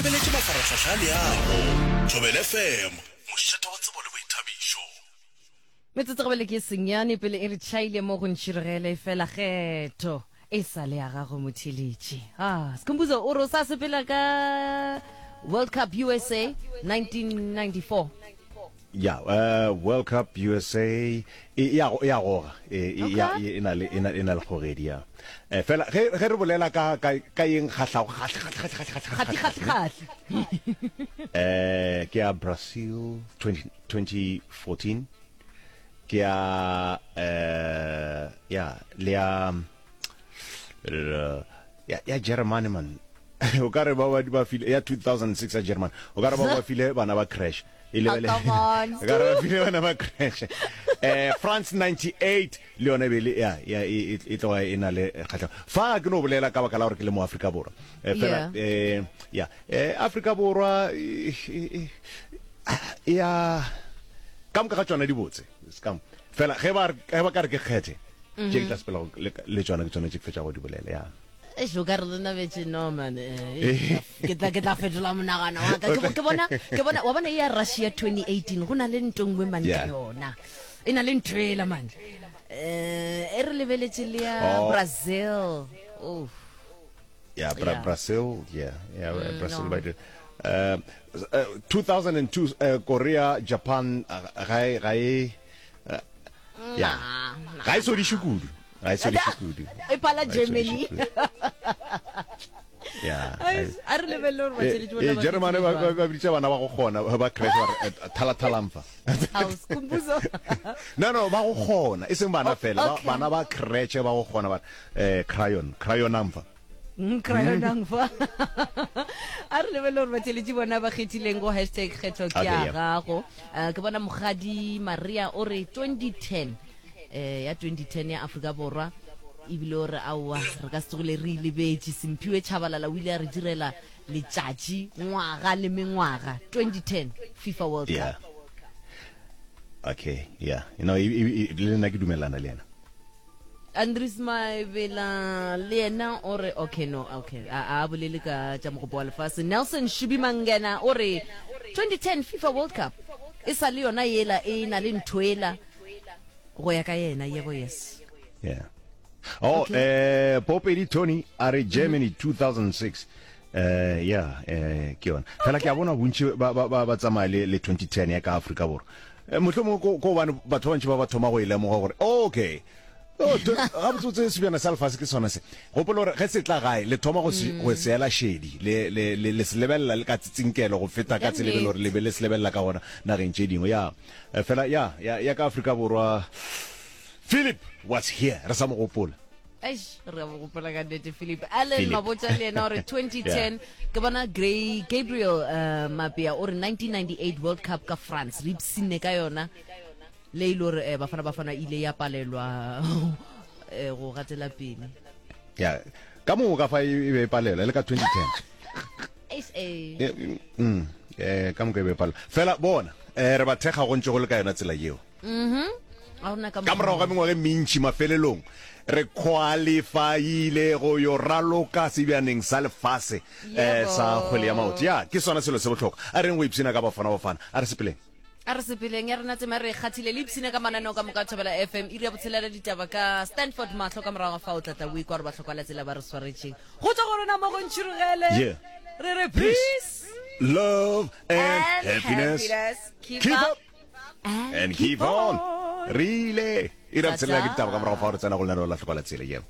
lebeletše mafarahlahla a leago. Thobela FM, mošate wa tsebo le boithabišo. Metsotso gabele ke senyane pele e re tšhaile mo go ntšhirogele fela kgetho e sa le ya gago motheletši. Ah, Skhumbuzo o re o sa sepela ka World Cup USA 1994. Ya, uh, World Cup USA e e ya e ya goga e e ya e na le e na e na le kgogedi ya. Eh, fela ge ge re bolela ka ka ka eng kgahlago kgahle kgahle kgahle kgahle kgahle kgahle kgahle. Eh, ke ya Brazil 20 2014 ke ya eh ya le ya ya ya Germany man o ka re ba ba ba file ya 2006 ya Germany o ka re ba ba file bana ba crash e lebele Oh, o ka re ba file bana ba crash eh France 98 le yona e be le ya ya e e tloga e na le kgatlhego fa ke no bolela ka baka la gore ke le mo Afrika Borwa eh fela eh ya eh Afrika Borwa ya ka moka ga tšona di botse ska fela ge ba ge ba ka re ke kgethe tše ke tla sepela le tšona ke tsona tše ke fetša go di bolela ya Eish, o ka re le nabetše no man eh, ke tla ke tla fetola monagano wa ka ke bona ke bona wa bona ya Russia 2018 go na le nto nngwe man ka yona e na le ntho ela man eh e re lebeletše le ya oh. Brazil oh yeah, Bra yeah. Brazil yeah yeah mm, Brazil no. ba uh, 2002 uh, Korea Japan ga e ga e ya ga e sodiše kudu ga e sodiše kudu e pala Germany ya a re lebelele gore batheletši bona ba Germany ba ba biditša bana ba go kgona ba crash ba re thala thalamfa no no ba go kgona e seng bana fela bana ba crash ba go kgona ba eh crayon crayonamfa Mm, crayonang fa a re lebelele gore batheletši bona ba kgethileng go hashtag kgetho ke ya gago eh, ke bona mogadi maria o re 2010 eh, ya 2010 ya afrika borwa ebile o re aowa re ka se tsogile re ilebetše semphiwe tšhabalala o ile a re direla letšatši ngwaga le mengwaga 2010 fifa world cup okay yeah you know le nna ke dumelana le yena Andries Maebela le yena o re okay no okay a a bolele ka tša mogopo wa lefase. Nelson Shubi Mangena o re 2010 FIFA World Cup e sa le yona yela e na le ntho ela go ya ka yena yebo yes. Yeah. Oh, okay. eh Popedi Tony a re Germany mm -hmm. 2006. Eh yeah, eh ke yona. Fela ke a bona bontši ba ba ba tsamaya le le 2010 ya ka Afrika Borwa. Eh, mohlomongwe ko ko gobane batho ba bantši ba ba thoma go e lemoga gore okay Oh, gabotsebotse sebjana sa lefase ke sona se gopola gore ge se tla gae le thoma go se go se ela šedi le le le le se lebelela le ka tsitsinkelo go feta ka tsela e be le gore le be le se lebelela ka gona nageng tše dingwe ya eh, fela ya ya ya ka Afrika Borwa Philip was here re sa mo gopola Eish, re a mo gopola ka nnete Philip. Allen Mabotja le yena o re 2010 ke bona Gray Gabriel uh, Mapea o re 1998 World Cup ka France re ipshinne ka yona le ile gore eh, Bafana Bafana ile ya palelwa eh, go gatela pele. Ya ka moka fa e be e palelwa le ka 2010. Eish, eh. Eh, mm, eh, ka moka e be e palelwa. Fela bona eh, re ba thekga go ntše go le ka yona tsela yeo. Mhm. Ga gona ka Ka morago ga mengwaga e mentši, mafelelong re khwalifaile go yo raloka sebjaneng sa lefase eh, sa kgwele ya maoto. Ya, ke sona selo se bohlokwa. A reng go ipshina ka Bafana Bafana. A re sepeleng. A re sepeleng ya rena tsema re kgathile le ipshine ka mananeo ka moka a Thobela FM iri ya botshelela ditaba ka Stanford Mahlo ka morago ga fao tlatla o ikwa gore bahlokwa la tsela ba re swaretšeng go tswa go rena mo go ntšhirogele Yeah. re re Peace, peace love and and happiness. happiness. Keep, Keep up up and keep on. Re ile. Iri ya botshelela ke ditaba ka morago fa re tsena go lenaneo la hlokwa la tsela. Yeah.